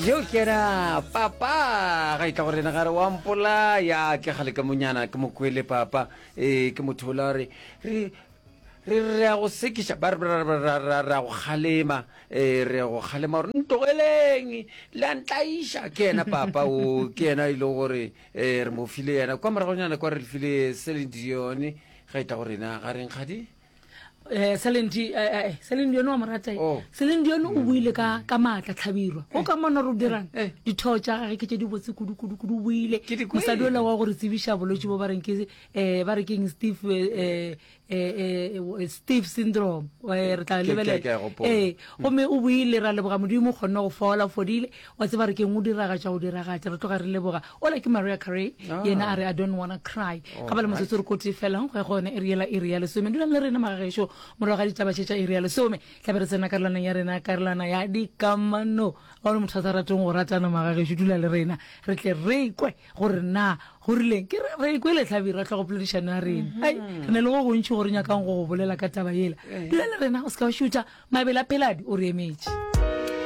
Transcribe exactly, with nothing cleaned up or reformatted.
Yo ke yena papa ga itla go rena gare wa mpolaya ke gale ka monyana ke mokwele papa ee ke motho ola re re re re ya go sekiša ba re re ya go kgalema ee re ya go kgalema gore ntlogeleng le a ntlaiša ke yena papa o ke yena e le gore um re mo file yena kwa moragonyana kwa re file Celine Dion ga itla go rena ga reng kgadi eh Celine Di eh eh Celine Dion wa mo rata Oh. Celine Dion o buile ka ka maatla tlhabirwa o ka mona re dirang Eh. ditho tša gage ke tše di botse kudu kudu kudu o buile Ke di kwele. mosadi ola wa gore tsebiša bolwetši bo ba reng ke eh ba re keng Steve eh eh eh Steve syndrome eh re tla Ke- ke- lebelela ke a gopola. eh gomme o buile ra leboga modimo o kgonne go fola o fodile wa tseba re keng o diragatša go diragatša re tloga re leboga ola ke Mariah Carey Ah. yena a re I don't wanna cry ga ba le motsotso re kote felang go ya go yona iri yela iri ya lesome dulang le rena magagešo morago ga ditaba tše tša iri ya lesome tlabe re tsena karolwaneng ya rena karolwana ya dikamano ga o le motho a sa rateng go ratana magagešo dula le rena re tle re kwe gore na go rileng ke re re kwele tlhabirwa tlhogo poledišano ya rena ai re ne le go gontši gore nyakang go go bolela ka taba yela dula le rena o se ka wa šutha mabele a pheladi o re emetše.